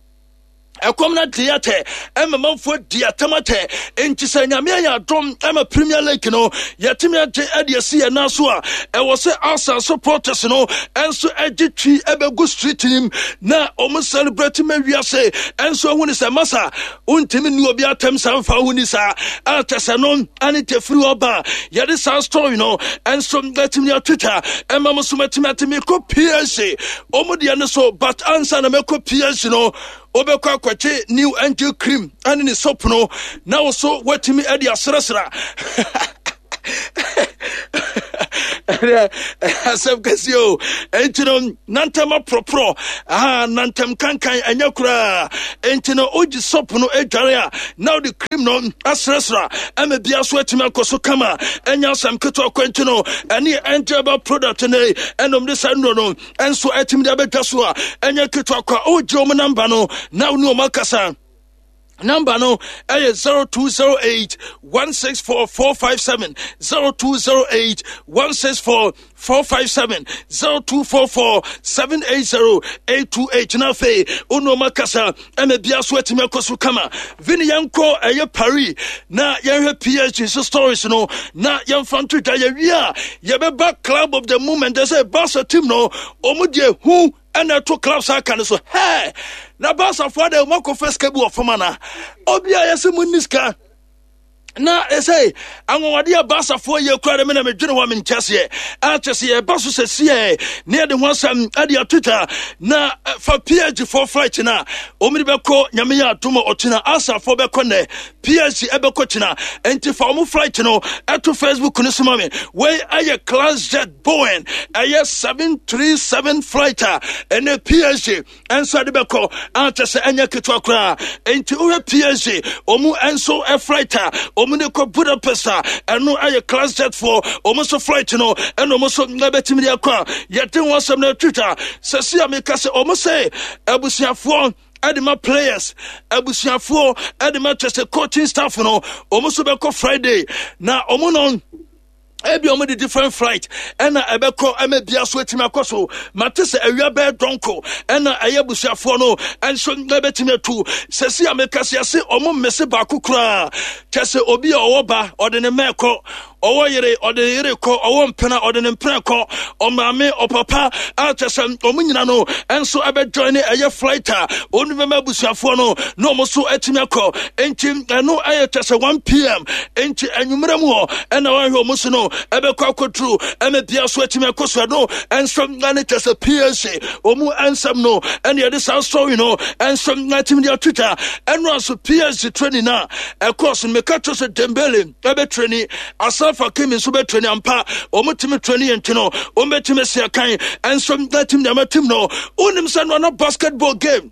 ɛkɔm no de atɛ ɛma manfoɔ di atam atɛ. Nti sɛ Nyame ayɛ adom ɛma Premier League no yɛtumi agye ɛde asi yɛn nan so a, ɛwɔ sɛ Arsenal supporters no ɛnso ɛgye twi ɛbɛgu street nim na ɔmo celebrate ma wiase ɛnso ɛhu ne sɛ masa wontumi nni obi atɛm saa mfa ho ni saa a kyɛ sɛ no ane tɛfiri hɔ ba. Yɛde saa story no ɛnso atumi atwitwa ɛma mo so matumi ate mekɔ P S G ɔmo deɛ no so, but ansa na mɛkɔ P S G no Wobɛkɔ akɔgye New Angel cream ɛne ne soap no na wo so woatumi ade asrɛsra. Asɛm kɛseɛ o. Enti no nantam aporɔporɔ aha, nantam kankan ɛnyɛ koraa. Enti no wogye soap no adware a na wode cream no asrɛsra ɛma bia so atumi akɔ so kama. Ɛnyɛ asɛm ketewa kɔ. Enti no ɛne Angel Herbal product ne ɛnom de saa nnuro no ɛnso atumi de abɛdwa so a ɛnyɛ ketewa kɔ a. Wogye wɔn namba no na wo ne wɔn akasa. Number no ɛyɛ zero two zero eight one six four four five seven, zero two zero eight one six four four five seven, zero two four four seven eight zero eight two eight. Na afei wo nneɛma kasa ɛma bia so atumi akɔ so kama. Vini, yɛnkɔ ɛyɛ Paris na yɛnhwɛ P S G so stories no na yɛmfa nto dwa. Yɛwie a yɛbɛba club of the moment. Sɛ Barca team no, ɔmo deɛ hu ɛna ɛto clubs aka no so hɛ na Barcafoɔ de ɔmo akɔfa sika bi wɔ fam ana obi a yɛsɛ mo nni sika na ɛsɛ anwanwadeɛ a Barcafoɔ yɛ kura de me na medwene hɔ a menkyɛ seɛ akyɛ sɛ yɛba so sɛ siɛ ne yɛde ho asɛm ade ato twa. Na fa P S G foɔ flight no a ɔmde bɛkɔ, Nyame yɛ adom a ɔkyena. Asafoɔ bɛkɔ nnɛ, P S G ɛbɛkɔ kyena. Enti fa ɔmo flight no ɛto Facebook no so ma me. Wei ɛyɛ class jet Boeing ɛyɛ seven three seven flight a ɛne P S G ɛnso ɛde bɛkɔ akyɛ sɛ ɛnyɛ ketewa koraa. Enti wohwɛ P S G ɔmu ɛnso flight a ɔmu de kɔ Budapest a, ɛno ɛyɛ class jet foɔ ɔmu nso flight no ɛna ɔmu nso ɛbɛtumi de akɔ a yɛde ho asɛm no atwitwa sɛ si a meka sɛ ɔmu sɛ abusuafoɔ ɛde ma players, abusuafoɔ ɛde ma kyɛ sɛ coaching staff no, ɔmu nso bɛkɔ Friday na ɔmu no ebi ɔmo de different flight ɛna ɛbɛkɔ ɛmɛ bia so etimi akɔ so. Mate sɛ awia bɛɛ dɔnko ɛna ɛyɛ abusuafoɔ no ɛnso ɛbɛtumi atu. Sɛsi a meka se ase ɔmo mmese baako koraa kyɛ sɛ obi a ɔwɔ ba ɔde ne mɛɛ kɔ, ɔwɔ yere ɔde ne yere kɔ, ɔwɔ mpena ɔde ne mpena kɔ, ɔmaame ɔpapa a kyɛ sɛ ɔmo nyina no ɛnso ɛbɛjoin ne ɛyɛ flight a ɔno bɛma abusuafoɔ no na ɔmo so atumi akɔ. Enti ɛno ɛyɛ kyɛ sɛ one p m, enti anwummerɛ mu hɔ ɛna wɔahwɛ ɔmo so no ɛbɛkɔ akɔduru ɛmɛ bia so atumi akɔ so. Ɛno ɛnso ɛne kyɛ sɛ P S G ɔmu ɛnsɛm no ɛne yɛde saa story no ɛnso atumi de atwitwa. Ɛno nso P S G training a ɛkɔɔ so no, meka kyerɛ sɛ Dembele ɛbɛtraining, Achraf Hakimi nso bɛtraining ampa. Ɔmo tumi training yɛn nti no ɔmo bɛtumi asi akan ɛnso atumi de ama team no. Wonim sɛ no ana basketball game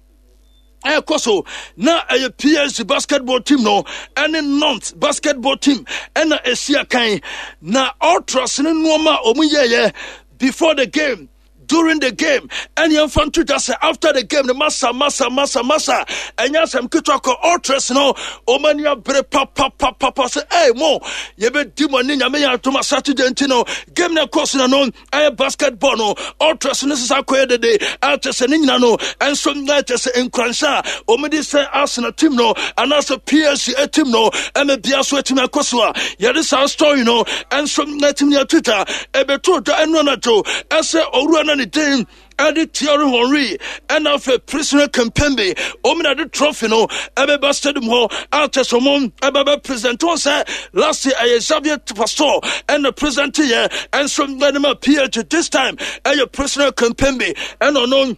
ɛkɔ so na ɛyɛ P S G basketball team no ɛne Nantes basketball team ɛna ɛsi akan na ultras ne nneɛma a wɔn yɛɛyɛ before the game, during the game, ɛne yɛmfa nto dwa sɛ after the game no, masa masa masa masa, ɛnyɛ asɛm ketewa kɔ. Ultras no ɔma ani abere papapapapa sɛ ɛy mo yɛbɛdi mo ani, Nyame yɛ adom a Saturday. Nti no game no ɛkɔ so na no ɛyɛ basketball no, ultras no sesa akɔyɛ dede ɛkyɛ sɛ ne nyina no ɛnso ɛkyɛ sɛ nkuranhyɛ a ɔmde sɛ Arsenal team no anaasɛ P S G team no ɛmɛ bia so atumi akɔ so a yɛde saa story no ɛnso atumi atwitwa. Ɛbɛto dwa ɛno anadwo ɛsɛ owura no ne din ɛde Thierry Henry ɛna afei Presnel Kimpembe ɔmo de trophy no ɛbɛba stadium hɔ akyɛ sɛ ɔmo ɛbɛbɛ present wɔn sɛ last year ɛyɛ Xavier Pastor ɛna present yɛ ɛnso ɛde ma P S G. This time ɛyɛ Presnel Kimpembe ɛna ɔno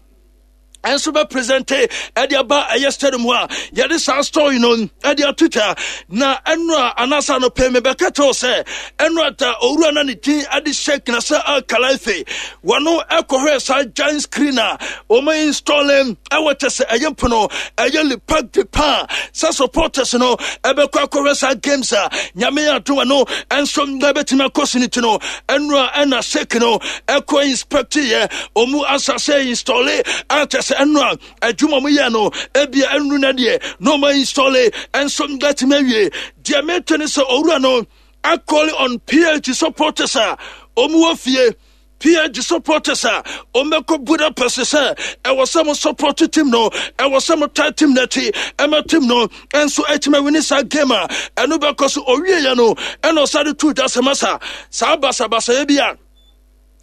ɛnso bɛ present ɛde aba ɛyɛ stadium hɔ a yɛde saa story no ɛde ato twa. Na ɛno a anaasɛ anɔpɛ mebɛka kyɛw sɛ ɛno ata owura na ne din ɛde Sheikh Nasser Al Khelaifi wɔno ɛkɔhwɛ saa giant screen a wɔn installing ɛwɔ kyɛ sɛ ɛyɛ mpono ɛyɛ Le Parc des Pins sɛ supporters no ɛbɛkɔ akɔhwɛ saa games a Nyame adom no ɛnso ɛbɛtumi akɔ so no ti no, ɛno a ɛna Sheikh no ɛkɔ inspect yɛ ɔmu asase install akyɛ sɛ ɛno a adwuma mu yɛ no ebia ɛnu no deɛ na ɔma install ɛnso bɛtumi awie. Deɛ mete ne sɛ owura no acalling on P S G supporters a ɔmu wɔ fie, P S G supporters a ɔmmɛkɔ Budapest sɛ ɛwɔ sɛ mo support team no, ɛwɔ sɛ mo taa team no akyi ɛma team no ɛnso atumi awin saa game a ɛno bɛkɔ so. Owieɛ no ɛna ɔsade tu dwa sɛ masa saa basabasayɛ bi a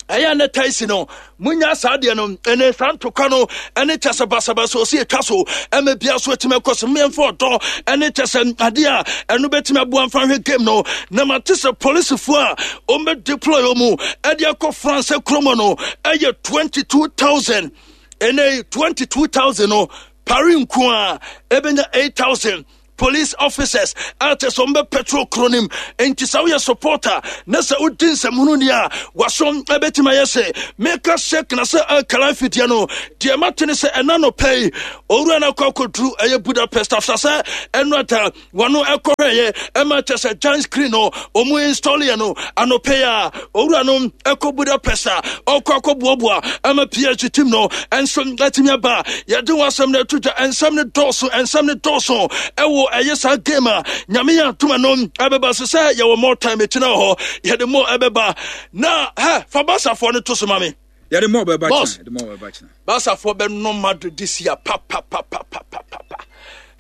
ɛyɛ ne taisi no munya saa deɛ no ɛne saa ntokwa no ɛne kyɛ sɛ basabasa ɔsi atwa so ɛmɛ bia so atumi akɔ so. Mmiɛnfo ɔdɔ ɛne kyɛ sɛ adeɛ a ɛno bɛtumi aboa mfa hwɛ game no. Na mate sɛ polisifoɔ a wɔn deploy wɔn ɛde akɔ France kurom no ɛyɛ twenty two thousand. Ɛnɛ twenty two thousand no Paris nko a ɛbɛnya eight thousand police officers a kyɛ sɛ ɔmbɛ patrol kuro no mu. Enti sɛ woyɛ supporter na sɛ wodi nsɛmhunu ni a, waso ɛbɛtumi ayɛ sɛ meka Sheikh Nasser Al Khelaifi deɛ no deɛ mate ne sɛ ɛna nɔpɛ yi owura no akɔ akɔduru ɛyɛ Budapest after sɛ ɛno ata wɔno ɛkɔhwɛeɛ ɛma kyɛ sɛ giant screen no ɔmu install yɛ no anɔpɛ yi a owura no ɛkɔ Budapest a ɔkɔ akɔboaboa ɛma P S G team no ɛnso atumi aba. Yɛde wɔn asɛm no ato dwa. Ɛnsɛm no dɔɔso, ɛnsɛm no dɔɔso ɛwɔ ɛyɛ saa game a Nyame yɛ atoma no ɛbɛba so sɛ yɛwɔ more time ɛkyina wɔ hɔ, yɛde more ɛbɛba na hɛ fa Basafoɔ no to so ma me. Yɛde mɔ bɛba. Boss. Kyena yɛde mɔ bɛba kyena. Basafoɔ bɛnom Madrid this year papapapapapapa.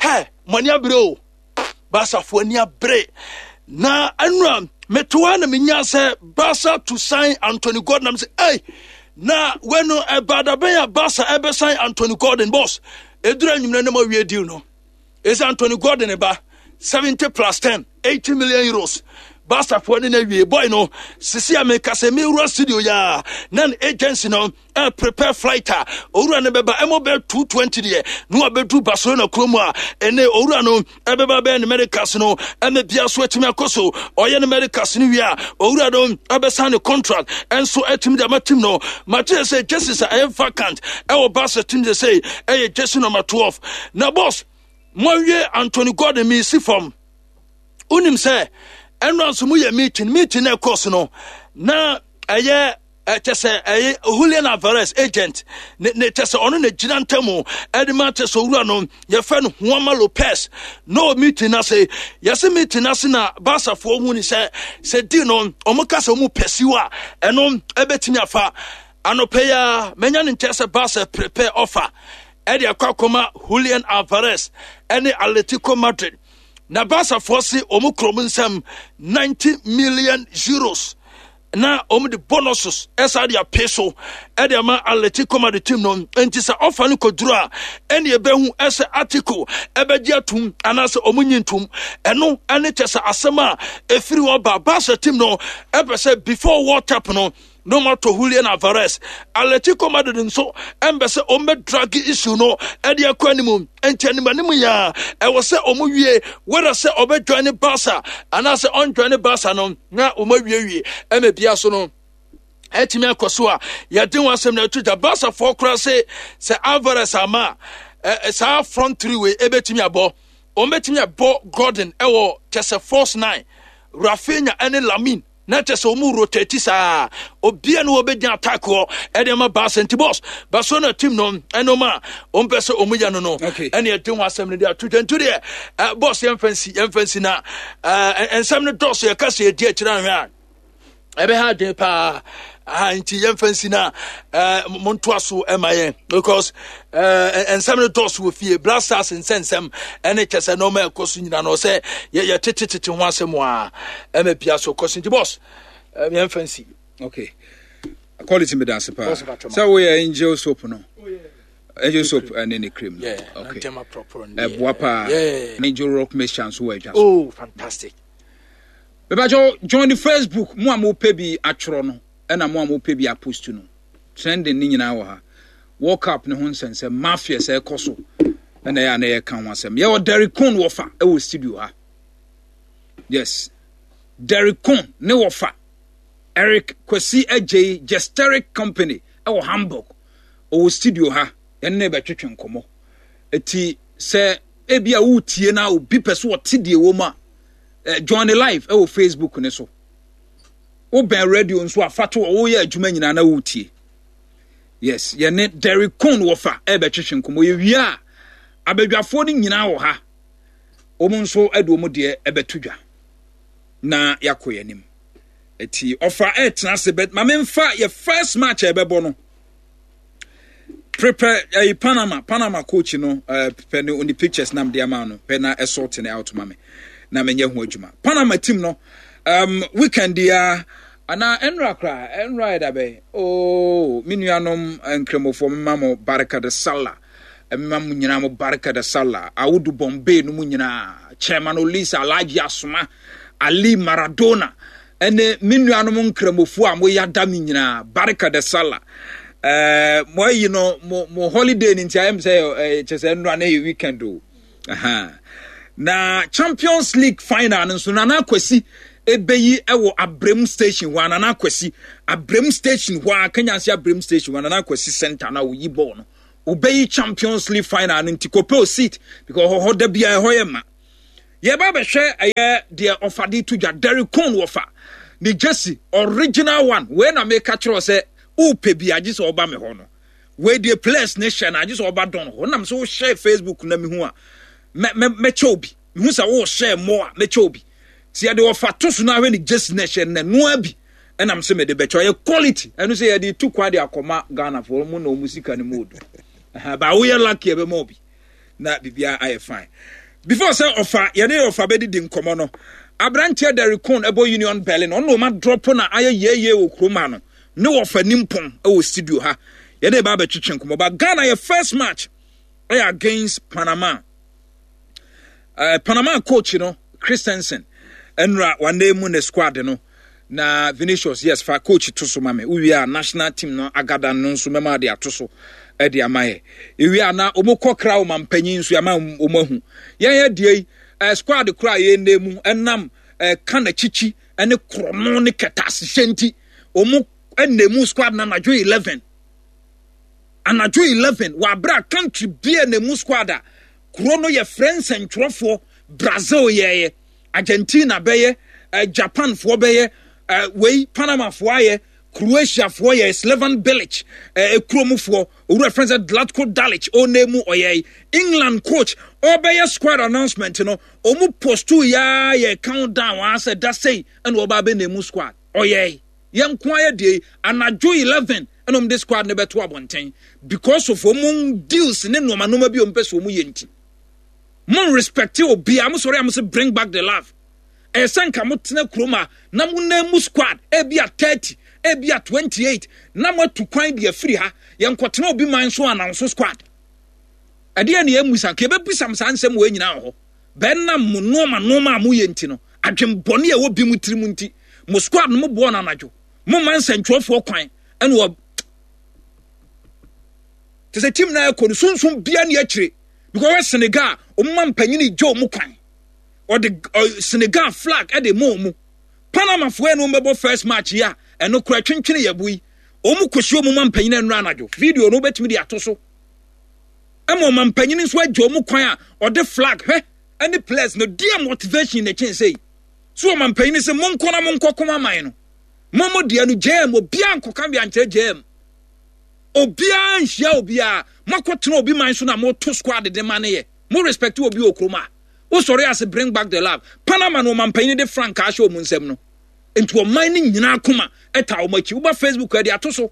Hɛ, mo ani abere o, Basafoɔ ani abere na ɛnura metoa na menya sɛ Barca to sign Anthony Gordon am sɛ ei, na wɛno ɛba dabɛn a Barca ɛbɛsign Anthony Gordon? Boss, ɛduru anwummerɛ ne ma wie deal no ɛsɛ Anthony Gordon ba seventy plus ten, eighty million euros. Barcafoɔ ne no awie boy no sisi a meka sɛ mewura studio yi a na ne agency no uh, prepare flight a owura no bɛba ɛmɔ bɛ two twenty deɛ na wabɛduru Barcelona kurom a ɛnɛ owura no ɛbɛba bɛyɛ ne medicals no ɛmɛ bia so atumi akɔ so. Ɔyɛ ne medicals no wie a, owura no ɛbɛsan ne contract ɛnso atumi de ama team no. Mate sɛ jerseys a ɛyɛ vacant ɛwɔ Barca team sɛ sɛ ɛyɛ jersey number twelve. Na boss, moawie Anthony Gordon, meesi fam. Wonim sɛ ɛno nso moyɛ meeting meeting na ɛkɔɔ so no na ɛyɛ ɛkyɛ sɛ ɛyɛ Julian Alvarez agent ne ne kyɛ sɛ ɔno na gyina ntamu ɛde ma kyɛ sɛ owura no yɛfɛ no Juanma Lopez na ɔ meeting n'ase. Yɛsɛ meeting n'ase na Barcafoɔ hu ni sɛ sɛ di no ɔmo ka sɛ ɔmo pursue a ɛno ɛbɛtumi afa. Anɔpɛ yi a mɛnya ne nkyɛn sɛ Barca prepare offer ɛde akɔ akɔma Julian Alvarez ɛne Atletico Madrid na Barcafoɔ se ɔmo kurom nsɛm ninety million euros na wɔn de bonuses ɛsa de ape so ɛde ama Atletico Madrid team no. Nti sɛ ɔfa no kɔduru a, ɛne ɛbɛhu ɛsɛ article ɛbɛgye atum anaasɛ wɔn nyi ntum. Ɛno ɛne kyɛ sɛ asɛm a ɛfiri hɔ ba, Barca team no ɛpɛ sɛ before World Cup no na ɔmo atɔ Julian Alvarez. Atletico Madrid nso ɛmbɛ sɛ ɔmo bɛ drag issue no ɛde akɔ anim. Nti anim anim yɛ a ɛwɔ sɛ ɔmo wie whether sɛ ɔbɛ join ne Barca anaasɛ ɔnjoin ne Barca no na ɔmo awiewie ɛmɛ bia so no ɛtumi akɔ so a yɛde wɔn asɛm na ɛto gya. Barcafoɔ koraa se sɛ Alvarez ama a ɛ saa front three wei ɛbɛtumi abɔ, wɔn bɛtumi abɔ Gordon ɛwɔ kyɛ sɛ false nine, Raphinha ɛne Lamine na kyɛ sɛ wɔn rotate saa obia no wɔbɛgyina attack hɔ ɛde ama Barca. Nti boss, Barcelona team no ɛnum a wɔn pɛ sɛ wɔn yɛ no no Okay. ɛne ɛde ho asɛm no de ato dwa. Nti deɛ ɛ boss, yɛmfa nsi yɛmfa nsi na ɛɛ nsɛm no dɔɔso. Yɛka sɛ yɛdi akyire ahwɛ a ɛbɛha adwene paa aha. Nti yɛmfa nsi na ɛɛ montoa so ɛma yɛn because ɛɛ nsɛm no dɔɔso wɔ fie. Black Stars nsɛnsɛm ɛne kyɛ sɛ nneɛma ɛkɔ so nyinaa no sɛ yɛ yɛtetetete ho asɛm a ɛmɛ bia so kɔ so. Nti boss, ɛɛ yɛmfa nsi. Okay, quality, me dance paa. Boss, Patro. Sɛ woyɛ Angel Soap no, Angel Soap ɛne ne cream no. Yeah, okay. Ntɛma proper no. Ɛboa paa. Yeah. Angel Rock mixture nso wɔ adwa so. Oh, fantastic. Mebakyɛw, join the Facebook. Mo a mopɛ bi atwerɛ no ɛna mo a mopɛ bi apost no, trending ne nyinaa wɔ ha. World Cup ne ho nsɛnsɛm, mafia sɛ ɛkɔ so ɛna ɛyɛ a na yɛka ho asɛm. Yɛwɔ Derek Con wɔfa ɛwɔ studio ha. Yes, Derek Con ne wɔfa Eric Kwasi Agyei, Gesteric Company ɛwɔ Hamburg, ɔwɔ studio ha. Yɛne ne bɛtwetwe nkɔmmɔ. Eti sɛ ebi a wotie na obi pɛ so ɔte deɛ wɔ mu a, eh, join the live ɛwɔ Facebook ne so. Wobɛn radio nso a, fa to hɔ. Woyɛ adwuma nyinaa na wotie. Yes, yɛne Derek Con wɔfa ɛbɛtwetwe nkɔmmɔ. Yɛwie a, abadwafoɔ no nyinaa wɔ ha, wɔn nso de wɔn deɛ ɛbɛto dwa na yɛakɔ yɛn anim. Eti ɔfa ɛtena ase bɛ maame nfa yɛ first match a ɛbɛbɔ no. Prepare ɛyi Panama Panama coach no ɛɛ pɛ ne ne pictures nam de ama no pɛ na ɛsort ne out ma me na menyɛ ho adwuma. Panama team no, um, weekend ya anaa ɛnra koraa, ɛnra yɛ dabɛ. Oh, me nuanom nkramofoɔ, mema mo barika de sallah, mema mo nyinaa mo barika de sallah. Awudu Bombay no mu nyinaa, Chairman Olisa, Alhaji Asoma Ali Maradona ɛne me nuanom nkramofoɔ a moyɛ ada me nyinaa, barika de sallah. Ɛɛ mo ayi no mo mo holiday ni nti ayɛ mi sɛ ɛɛ kyɛ sɛ nnura na yɛ weekend o. Na Champions League final no nso, Nana Akwasi ebeyi ɛwɔ Abrem Station hɔ a, Nana Akwasi Abrem Station hɔ a, Kenyansi Abrem Station hɔ a, Nana Akwasi Center na oyi bɔɔl no, obeyi Champions League final no. Nti kɔpɛ o seat because hɔ da bia ɛhɔ yɛ ma. Yɛba bɛhwɛ ɛyɛ deɛ ɔfa de to dwa. Derek Cohn wɔfa ne jersey original one wei na meka kyerɛ sɛ wopɛ bi agye sɛ ɔba me hɔ no. Wei deɛ players ne hyɛ no agye sɛ ɔba dɔn hɔ nam sɛ wohyɛ Facebook na mehu a mɛkyɛ obi. Mehu sɛ wohyɛ mmɔ a, mɛkyɛ obi. Nti yɛde ɔfa to so no ahwɛ ne jersey no ɛhyɛ no noa bi ɛnam sɛ mede bɛkyɛ. Ɔyɛ quality. Ɛno sɛ yɛde tu kwa de akɔma Ghanafoɔ mu na ɔmu sika no mu odu ba. Woyɛ lucky, ɛbɛma obi na biribiara ayɛ fine. Before sɛ ɔfa yɛne ɔfa bɛdidi nkɔmmɔ no, aberanteɛ Derek Cohn ɛbɔ Union Berlin, ɔno na ɔma drop na ayɛ yɛyɛ wɔ kurom ha no ne wɔfa nimpɔn ɛwɔ studio ha. Yɛde ba abɛtwetwe nkɔmmɔ ba. Ghana yɛ first match ɛyɛ against Panama. uh, Panama coach no Christensen ɛnura wane mu ne squad no na Vinicius, yes, fa coach to so ma me. Wowie a, national team no agada no nso mɛma de ato so ɛde ama yɛ. Ewie a, na wɔn kɔ kra wɔn mpanyin nso ama wɔn ahu yɛn yɛ deɛ yi. ɛɛ squad kora a yɛn nan mu ɛnam ɛɛ ka n'akyikyi ɛne korɔno ne kɛtɛasehyɛ nti wɔn ɛna mu squad na anadwo eleven, anadwo eleven wɔ abere a country bia na mu squad a kuro no yɛ frɛ nsɛntwerɛfoɔ. Brazil yɛɛyɛ, Argentina bɛyɛ, uh, Japanfoɔ bɛyɛ, uh, wei Panamafoɔ ayɛ, Croatiafoɔ yɛ, Slaven Bilic uh, ekuromufoɔ owura fɛn sɛ Zlatko Dalic ɔna mu ɔyɛ. England coach ɔbɛyɛ squad announcement no, ɔmu postu yaa yɛ countdown asɛ da sei ɛna ɔba abɛ na emu squad ɔyɛ. Yɛn nko ayɛ deɛ anadwo eleven ɛna ɔmo de squad no bɛto abɔnten because of ɔmo deals ne nneɛma nneɛma bi a ɔmo pɛ sɛ ɔmo yɛ. Nti mo respect obiara. Mo sɔrɔ a, mo sɛ "Bring back the love." Ɛyɛ sɛ nka mo tena kurom a na mo nan mu squad ebi a thirty, ebi a twenty eight, na mo atu kwan de afiri ha. Yɛn nkɔtena obi man so ananso squad. Ɛdeɛ ne yɛn musa nka yɛbɛbisa mo saa nsɛm wɔ nyinaa wɔ hɔ. Bɛnam mo nneɛma nneɛma a moyɛ nti no, adwembɔne a ɛwɔ bi mu tirim nti, mo squad no mo boɔ no anadwo, mo ma nsɛntwerɛfoɔ kwan ɛna wɔ te sɛ team na ɛkɔ no sunsun bia ne akyire because ɔyɛ Senegal, ɔmo ma mpanyin gye ɔmo kwan, ɔde Senegal flag ɛde ma ɔmo. Panamafoɔ ɛna ɔmo bɛbɔ first match yi a ɛno kora twentwene yɛ bo yi, ɔmo kɔsi ɔmo ma mpanyin ɛnura anadwo. Video no wobɛtumi de ato so ɛma ɔma mpanyin nso agye ɔmo kwan a ɔde flag hwɛ ɛne players no deɛ motivation na kyɛn sɛ yi so. Ɔma mpanyin sɛ monkɔ na monkɔ kɔn aman no mo mo deɛ no gyɛm. Obiara nkɔka bi ankyerɛ gyɛm, obiara nhyia obiara. Moakɔtena obi man so na moto squad de ma ne yɛ. Mo respect obi wɔ kurom a wosɔre ase "Bring back the love." Panama no, ɔma mpanyin de frankaa ahyɛ wɔn nsam no nti ɔman no nyinaa koma ɛta wɔn akyi. Woba Facebook ɛde ato so,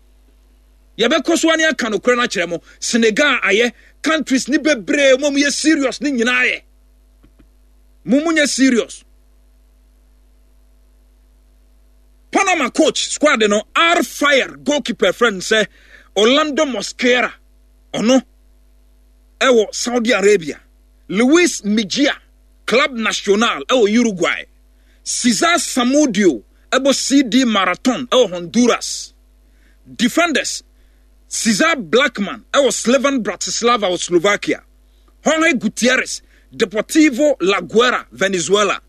yɛbɛkɔ so ane aka nokorɛ no akyerɛ mo. Senegal ayɛ, countries ne bebree mo yɛ serious ne nyinaa yɛ mo mo nyɛ serious. Panama coach squad no, R Fire goalkeeper friend sɛ Orlando Mosquera, ɔno ɛwɔ Saudi Arabia. Luis Mejia, Club Nacional ɛwɔ Uruguay. Cesar Samudio ɛbɔ C D Marathon ɛwɔ Honduras. Defenders, Cesar Blackman ɛwɔ Slovan Bratislava wɔ Slovakia. Jorge Gutierrez, Deportivo La Guaira, Venezuela.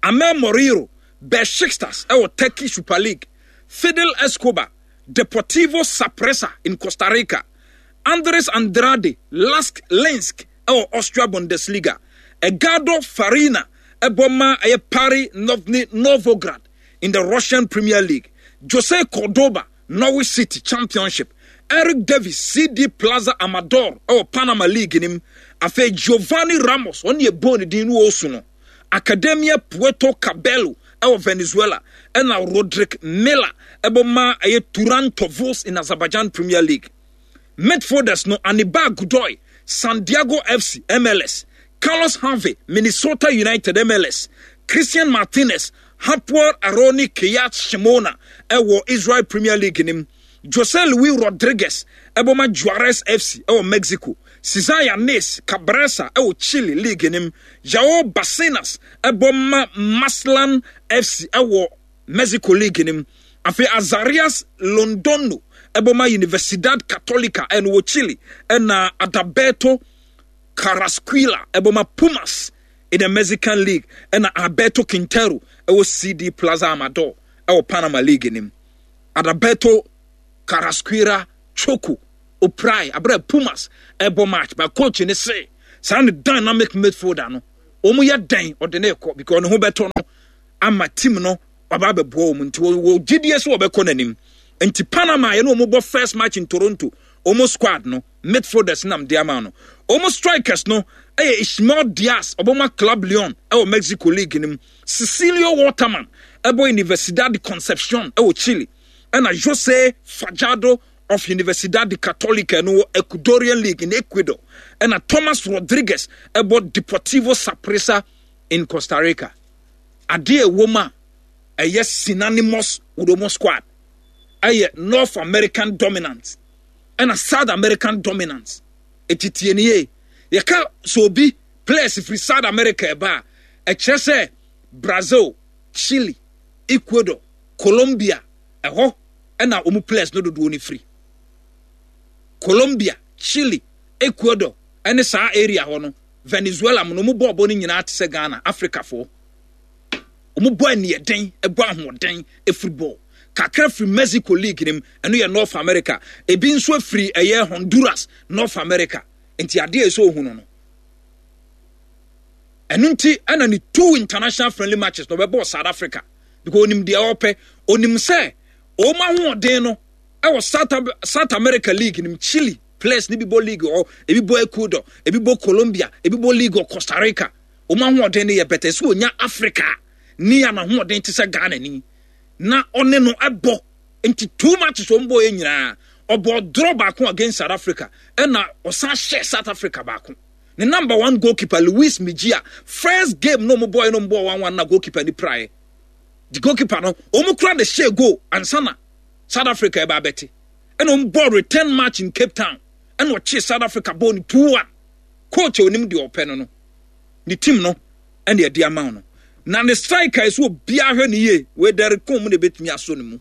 Amel Moreiro, Besiktas ɛwɔ Turkey Super League. Fidel Escobar, Deportivo Saprissa in Costa Rica. Andres Andrade, Lask Linz ɛwɔ Austria Bundesliga. Edgardo Farina ɛbɔ ma ɛyɛ Pari Novny Novgorod in the Russian Premier League. Jose Cordoba, Norwich City, Championship. Eric Davis, C D Plaza Amador ɛwɔ Panama League nim. Afei Giovanni Ramos, ɔne ɛbɔ ne din no ɔsu no, Academia Puerto Cabello ɛwɔ Venezuela. Ɛna Roderick Miller ɛbɔ ma ɛyɛ Turan Tovuz in Azerbaijan Premier League. Midfielders no, Anibal Godoy, San Diego F C, M L S. Carlos Harvey, Minnesota United, M L S. Christian Martinez, Hapoel Ironi Kiryat Shimona ɛwɔ Israel Premier League nim. Jose Luis Rodriguez ɛbɔ ma Juarez F C ɛwɔ Mexico. Cesar Yanis Cabrera ɛwɔ Chile League nim. Joao Barcenas ɛbɔ ma Mazatlan F C ɛwɔ Mexico League nim. Afei Azarias Londono ɛbɔ ma Universidad Católica, ɛno wɔ Chile. Ɛna Adalberto Carrasquilla ɛbɔ ma Pumas in the Mexican League. Ɛna Alberto Quintero ɛwɔ C D Plaza Amador ɛwɔ Panama League nim. Adalberto Carrasquilla Choco oprai abere Pumas ɛbɔ match, but coach ne se saa ne dynamic midfielder no, wɔn yɛ dɛn ɔde ne kɔ because ne ho bɛtɔ no ama team no waba abɛboa wɔn. Nti wɔ gyidie so wɔbɛkɔ n'anim. Nti Panama yɛn wɔn bɔ first match in Toronto, wɔn squad no midfielders nam de ama no. Wɔn strikers no ɛyɛ Ismael Diaz, ɔbɛma Club Leon ɛwɔ Mexico League no mu. Cecilio Waterman ɛbɔ Universidad de Concepcion ɛwɔ Chile. Ɛna Jose Fajardo of Universidad de Católica no wɔ Ecuadorian League in Ecuador. Ɛna Thomas Rodriguez ɛbɔ Deportivo Saprissa in Costa Rica. Adeɛ ɛwɔ mu a ɛyɛ synonymous with wɔn squad ɛyɛ North American dominance ɛna South American dominance. Etitie nie, yɛka sɛ obi players firi South America ɛba a, ɛkyerɛ sɛ Brazil, Chile, Ecuador, Colombia, ɛhɔ ɛna wɔn players no dodoɔ no firi. Colombia, Chile, Ecuador ɛne saa area hɔ no, Venezuela mu no, wɔn bɔɔbɔ no nyinaa te sɛ Ghana, Africafoɔ. Wɔn bɔ aniɛden, ɛbɔ ahoɔden, efiri bɔɔl kakra firi Mexico League nim, ɛno yɛ North America. Ebi nso afiri ɛyɛ Honduras, North America. Nti adeɛ a ɛsɛ ohun no no ɛno nti ɛna ne two international friendly matches na ɔbɛbɔ South Africa because onim deɛ ɔpɛ. Onim sɛ wɔn ahoɔden no ɛwɔ South, South America League nim. Chile players ne bi bɔ league hɔ, ebi bɔ Ecuador, ebi bɔ Colombia, ebi bɔ league wɔ Costa Rica. Wɔn ahoɔden no yɛ bɛtɛ sɛ onya Africa ni a n'ahoɔden te sɛ Ghana ni na ɔne no ɛbɔ. Nti two matches wɔn bɔ yɛ nyinaa, ɔbɔ draw baako against South Africa, ɛna ɔsan hyɛ South Africa baako. Ne number one goalkeeper Luis Mejia, first game no ɔmo bɔ yɛ no, ɔmo bɔ one one na goalkeeper ni praeɛ. The goalkeeper no, ɔmo kura de hyɛ goal ansa na South Africa ɛba abɛte. Ɛna ɔmo bɔ return match in Cape Town, ɛna ɔkye South Africa bɔ ne two one. Coach a onim deɛ ɔpɛ no no ne team no ɛna ɛde ama no. Na ne striker ɛso obiara hwɛ ne yie, wei Derek Köhn mu na ebetumi asɔ ne mu.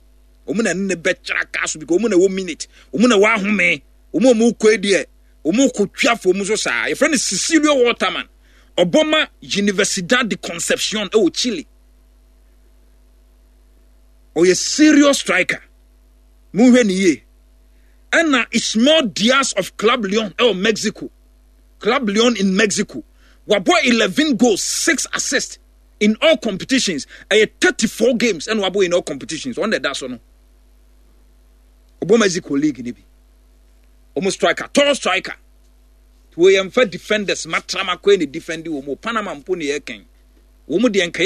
Ɔmo na ne bɛkyerɛ aka so because ɔmo na ɛwɔ minute, ɔmo na ɛwɔ ahome, ɔmo a ɔmo kɔ deɛ ɔmo kɔ twa fam so saa. Yɛfrɛ no Cecilio Waterman, ɔbɔ ma Universidad de Concepcion ɛwɔ Chile. Ɔyɛ serious striker, monhwɛ ne yie. Ɛna Ismael Diaz of Club Leon ɛwɔ Mexico, Club Leon in Mexico, wabɔ eleven goals, six assists in all competitions. Ɛyɛ thirty four games ɛna wabɔ in all competitions. Ɔn na ɛda so no, ɔbɔ Mexico League ne bi. Ɔmo striker, tall striker. Wɔyɛ nfa defenders matrama kɔ ne defend wɔn. Panama mpo ne yɛ kɛn wɔn deɛ nkɛyɛ.